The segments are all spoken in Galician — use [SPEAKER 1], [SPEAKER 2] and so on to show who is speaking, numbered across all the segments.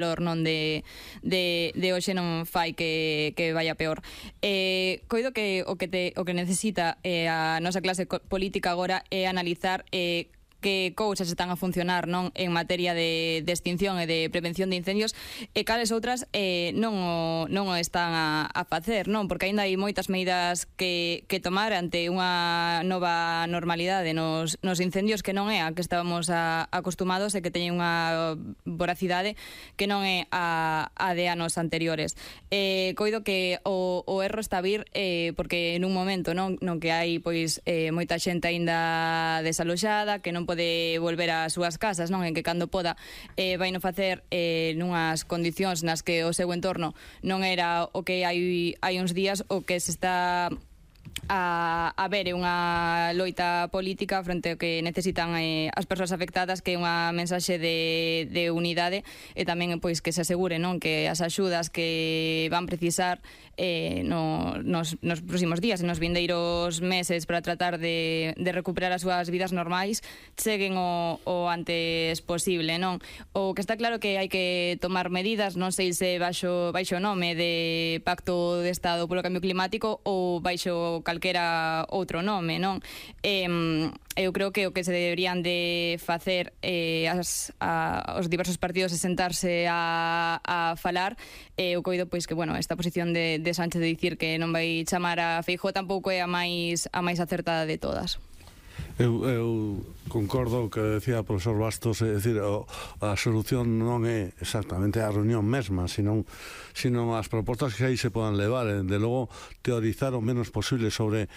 [SPEAKER 1] non de hoxe non fai que vaya peor. Coido que o que necesita a nosa clase política agora é analizar que cousas están a funcionar non en materia de extinción e de prevención de incendios e cales outras non o están a facer, non? Porque aínda hai moitas medidas que tomar ante unha nova normalidade nos incendios que non é a que estábamos acostumados e que teñen unha voracidade que non é a de anos anteriores. Coido que o erro está a vir porque nun momento non que hai pois moita xente aínda desaloxada que non pode volver ás súas casas, non? En que cando poda vai non facer nunhas condicións nas que o seu entorno non era o que hai uns días. O que se está a ver é unha loita política frente ao que necesitan as persoas afectadas, que é unha mensaxe de unidade e tamén pois que se asegure, non, que as axudas que van precisar nos próximos días e nos vindeiros meses para tratar de recuperar as súas vidas normais cheguen o antes posible, non? O que está claro que hai que tomar medidas, non sei se baixo o nome de Pacto de Estado polo Cambio Climático ou baixo calquera outro nome, non? Eu creo que o que se deberían de facer os diversos partidos é sentarse a falar. Eu coido pois que, bueno, esta posición de Sánchez de dicir que non vai chamar a Feijóo tampouco é a máis acertada de todas.
[SPEAKER 2] Eu concordo o que decía o profesor Bastos, é dicir, a solución non é exactamente a reunión mesma, sino as propostas que aí se podan levar, de logo teorizar o menos posible sobre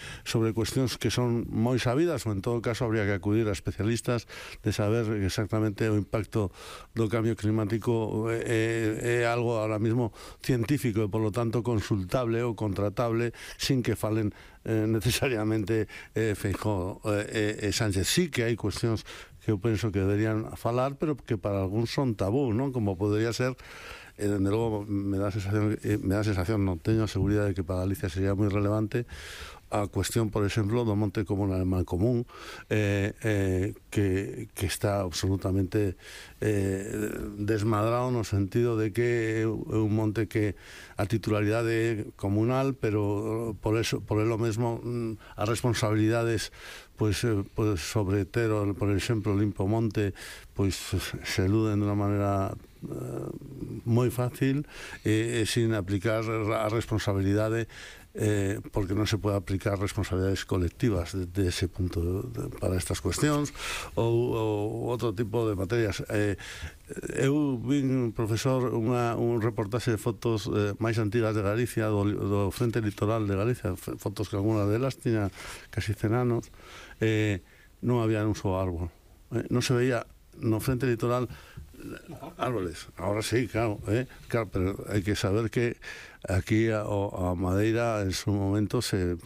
[SPEAKER 2] cuestións que son moi sabidas, ou en todo caso habría que acudir a especialistas de saber exactamente o impacto do cambio climático. É algo ahora mismo científico e polo tanto consultable ou contratable sin que falen necesariamente Feijóo e Sánchez. Sí que hai cuestións que eu penso que deberían falar, pero que para algúns son tabú, non? Como podría ser, dende logo me dá sensación, non teño a seguridade de que para Galicia sería moi relevante a cuestión, por exemplo, do monte comunal en Mancomún, que está absolutamente desmadrado no sentido de que é un monte que a titularidade é comunal, pero por elo mesmo as responsabilidades pois sobre ter, por exemplo, Limpo Monte, pois se eluden de unha maneira moi fácil e sin aplicar a responsabilidade, porque non se pode aplicar responsabilidades colectivas de ese punto para estas cuestións ou outro tipo de materias. Eu vin, profesor, un reportaxe de fotos máis antigas de Galicia, do Frente Litoral de Galicia, fotos que alguna delas tiña casi 100 anos. Non había un só árbol, non se veía no Frente Litoral árboles. Ahora sí, claro, pero hai que saber que aquí a madeira en su momento se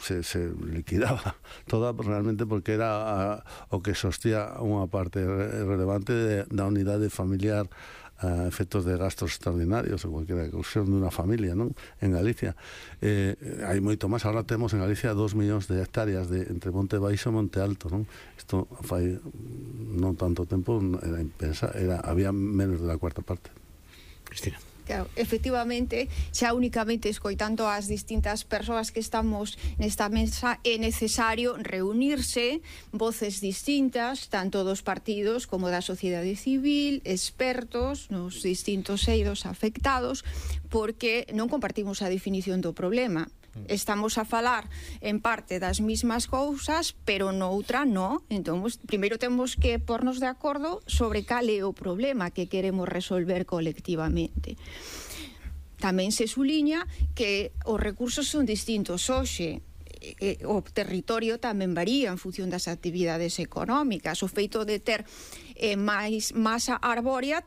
[SPEAKER 2] liquidaba toda realmente porque era o que sostía unha parte relevante da unidade familiar a efectos de gastos extraordinarios ou cualquiera cuestión de unha familia, non? En Galicia hai moito máis. Ahora temos en Galicia 2 millóns de hectáreas entre Monte Baixo e Monte Alto, non? Isto fai non tanto tempo había menos de la cuarta parte. Cristina.
[SPEAKER 3] Claro, efectivamente, xa únicamente escoitando as distintas persoas que estamos nesta mesa é necesario reunirse, voces distintas, tanto dos partidos como da sociedade civil, expertos nos distintos eidos afectados, porque non compartimos a definición do problema. Estamos a falar en parte das mismas cousas, pero noutra non. Entón, primeiro temos que pornos de acordo sobre cal é o problema que queremos resolver colectivamente. Tamén se suliña que os recursos son distintos hoxe. O territorio tamén varía en función das actividades económicas. O feito de ter máis masa arbórea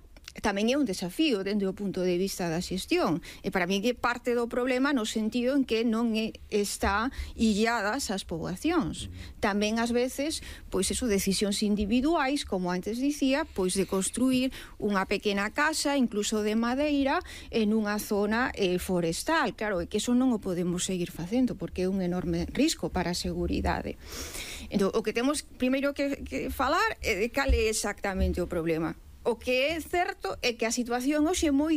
[SPEAKER 3] tamén é un desafío dende o punto de vista da xestión, e para mí é parte do problema no sentido en que non está illadas as poboacións. Tamén ás veces, pois eso, decisións individuais, como antes dicía, pois de construir unha pequena casa, incluso de madeira, en unha zona forestal. Claro, é que eso non o podemos seguir facendo, porque é un enorme risco para a seguridade. Entón, o que temos primeiro que falar é de cal é exactamente o problema. O que é certo é que a situación hoxe é moi